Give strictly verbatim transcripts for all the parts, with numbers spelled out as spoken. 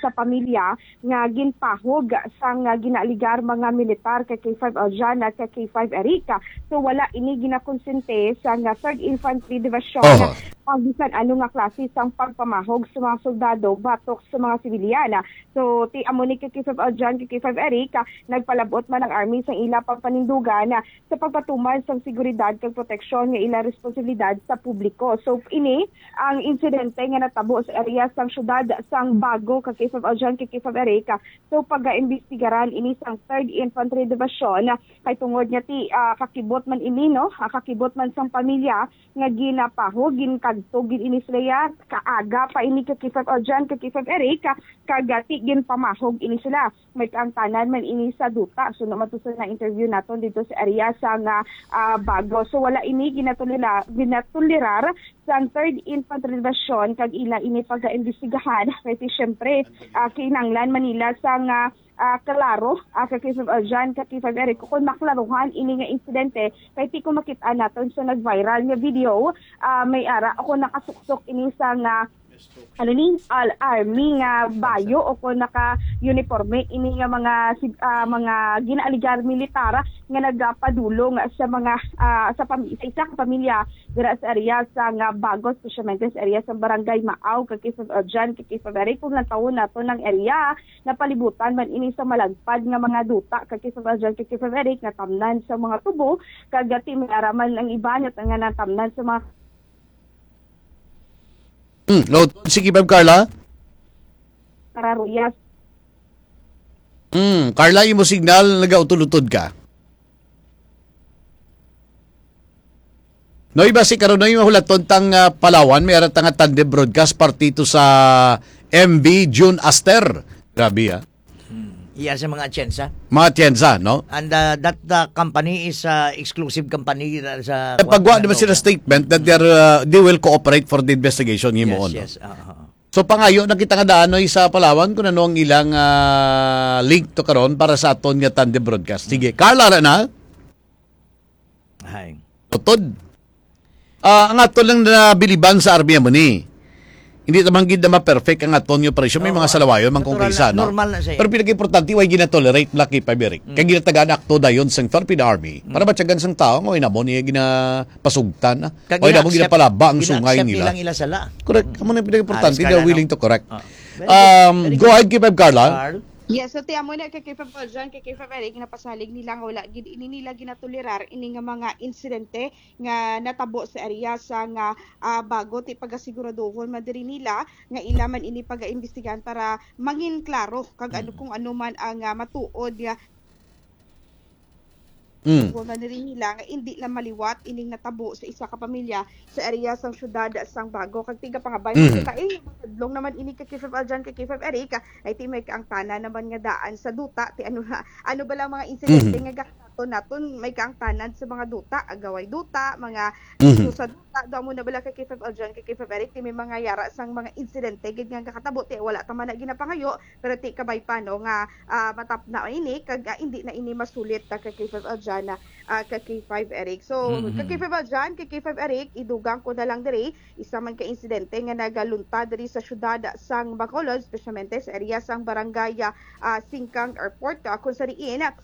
sa pamilya nga ginpahog sang, ah, ginaaligar mga militar kay K five Aljan at kay K five Eric. So, wala ini ginakonsente sang, ah, Third Infantry Division Oho. ang bisan ano nga klase sang pagpamahog sa mga soldado batok sa mga sibilyan. So, ti amo ni kay K five Aljan, kay K five Eric, ah, nagpalabot man ang army sa ila pagpanindugan, ah, sa pagpatuman sang seguridad kag proteksyon nga ila responsibilidad sa publiko. So, ini ang insidente nga natabo sa area sang siyudad sang Bago, kay K five Aljan, kay K five Eric. So, pagaimbestigaran ini sang Third Infantry Division, kay tungod nga ti, ah, kakibot man ini, no? Ah, kakibot man sang pamilya nga ginapahog, ginkagtog gid ini sila ya, kaaga pa ini kay K five Aljan, kay K five Eric, kag, ah, ti ginpamahog ini sila. May kaangtanan man ini sa duta. So, no, matusan na interview naton dito sa area sang, ah, Bago. So, wala ini ginatulila-, ginatulirar sang Third Infantry Division kag ila ini pagaimbestigahan. Kay ti, syempre, ah, kinahanglan man nila sang, ah, ah, klaro, ah, kay K five Aljan, kay K five Eric, kung maklaruhan ini nga insidente, kay ti kung makita naton sa nag-viral nga video, ah, may ara ako nakasuksok ini sang, ah, ano ni, al-, army nga bayo o kung naka-uniforme ini nga mga sig-, ah, mga ginaaligar militar nga nagapadulong sa mga, ah, sa pami-, sa isa ka pamilya dira sa area sang Bago, espesyalmente sa area sa Barangay Maaw, kay K five Aljan, kay K five Eric. Kung lantawon naton ang area, napalibutan man ini sa malagpad nga mga duta, kay K five Aljan, kay K five Eric, natamnan sa mga tubo, kag ti may ara man ang iban nga natamnan sa mga Hmm, no, sige, Ma'am Carla. Kararuyas. Hmm, Carla, imo signal, nagautod-utod ka. Noy, basi karon, Noy, mahulaton tang, ah, Palawan, may ara ta nga tandem broadcast parte to sa M V June Aster. Grabe, ah. Hmm. Iya sa mga atyensa. Mga atyensa, no? And, uh, that, uh, company is, uh, exclusive company, uh, sa Eh, pagwa naman sila statement that they're, uh, they will cooperate for the investigation, Yes, himuon, no? yes, ah, ah, ah. So, pangayo na kita nga daan, no, sa Palawan kung ano ang ilang, ah, link to karon para sa aton nga tandem broadcast. Sige, Carla, ara na? Hay. Utod. Ah, ang aton lang na biliban sa army amo ni. Hindi naman gid na ma-perfect ang aton nga operasyon. May Oo. mga salawayon man kung Natural kaisa, na, no? normal na siya. Pero pinag-importante, way ginatolerate na kay Paberic. Mm. Kay ginatagaan akto dayon sang Philippine Army. Mm. Para matyagan sang tao nga way namo niya ginapasugtan, ah. Kag Way namo ina-accept. ginapalaba ang Ina-accept sungay nila. nilang ila sala. Correct. Mm. Amo na yung pinag-importante, Ah, they're Carla, no? willing to correct. Ah. Very Um, good. go ahead, kay Feb Carla. Carl? Yes, so ti amo na kay K five Aljan, kay K five Eric, napasalig nila nga wala gid ini nila ginatolerar ini nga mga insidente nga natabo sa area sang, ah, Bago. Ti pagasiguraduhon man diri nila nga ila man ini pagaimbestigahan para mangin klaro kag ano Mm. kung ano man ang, ah, matuod nga Mm. Kuha na rin nila nga hindi lang maliwat ining natabo sa isa ka pamilya sa area sang syudad sang Bago. Kag tiga pangabay Mhm. kita, eh, madlong naman ini kay K five Aljan, kay K five Eric, ah, ay ti may kaangtanan naman nga daan sa duta. Ti ano na, ano ba lang mga insidente Mhm. nga gakataton naton, may kaangtanan sa mga duta, agaway duta, mga Mhm. issue sa duta, do amo na bala kay K five Aljan, kay K five Eric, ti may mga yara sang mga insidente gid nga gakatabo, ti wala ta man na ginapangayo, pero ti kabay pa, no, nga ah, matapna ini, kag, ah, hindi na ini masulit, ah, kay K five Aljan, ah, kay K five Eric. So, Mhm. kay K five Aljan, kay K five Eric, idugang ko na lang diri, isa man ka insidente nga nagaluntad diri sa syudad sang Bacolod, espesyalmente sa area sang barangay, ah, ah, Singkang Airport, ah, kung sa diin, ah,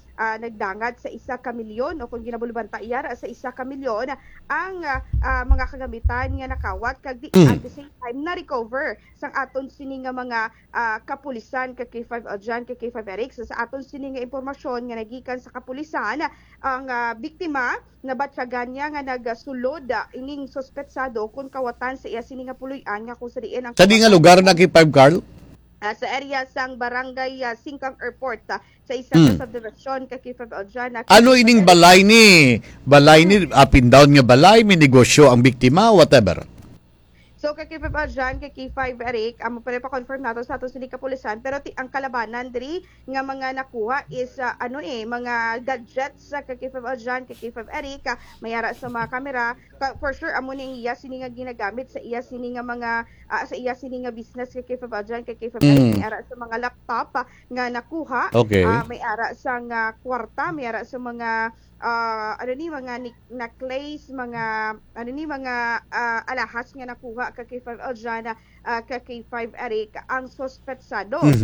nagdangat sa isa ka milyon o kung ginabulbanta iyara sa isa ka milyon ang, ah, ah, mga kagamitan nga nakawat, kag di, Mm. at the same time, na-recover sang aton sini nga mga ah, kapulisan, kay K five Aljan, kay K five Eric. Sa, sa aton sini nga impormasyon nga nagikan sa kapulisan, ang, ah, biktima nabatyagan niya nga nagasulod, ah, ining suspetsado kon kawatan sa iya sini nga puloy-an nga kung sa diin ang Sa di nga lugar na kay five, Carl? Ah, sa area sang barangay, ah, Singkang Airport, ah, sa isa ka Hmm. subdivision kay K five Aljan, ah, Ano kay ining F I R. balay ni? Balay ni, Hmm. up and down nga balay, may negosyo ang biktima, whatever. So, kay K five Aljan, kay K five Eric, amo pa rin pa-confirm nato sa aton sini kapulisan, pero ti-, ang kalabanan diri nga mga nakuha is, ah, ano eh, mga gadgets sa kay K five Aljan, kay K five Eric, ah, may ara sa mga kamera. Ka-, for sure, amo ni ang iya sini nga ginagamit sa iya sini nga mga, ah, sa iya sini nga business kay K five Aljan, kay K five Eric, Mm. may ara sa mga laptop, ah, nga nakuha. Okay. Ah, may ara sa nga kwarta, may ara sa mga, ah, ano ni, mga ni-, necklace, mga, ano ni, mga, ah, alahas nga nakuha kay K five Aljan, ah, kay K five Eric ang suspetsado. Mhm.